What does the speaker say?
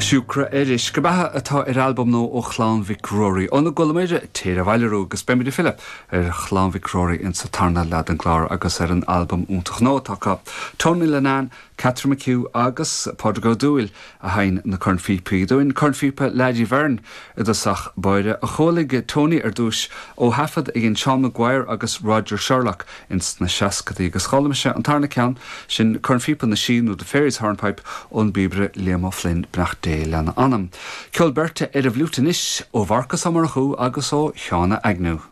Siúcra ar Uisce Beatha atá ar albam nua ó Chlann Mhic Ruairí. Óna gcualamar Téir Abhaile a Ruaidh agus beimid ag filleadh ar Chlann Mhic Ruairí insa tarna leath den gclár agus ar an albam iontach nua atá acu. Tony Linnane, Catherine McHugh agus Pádraig Ó Dúill a sheinn na cornphíopaí dúinn. Cornphíopa Leaidí Bheirn i dtosach báire a chualaigh Tony ar dtúis ó thaifead a dhein Seán Maguire agus Roger Sherlock ins na seascadaí agus chuala mise an tarna ceann sin, Cornphíopa na Sí nó The Fairies Hornpipe ón bpíobaire Liam Ó Floinn, beannacht Dé lena anam. Ceol beirte ar an bhfliúit anois ó Mharcas Ó Murchú agus ó Sheána Agnew.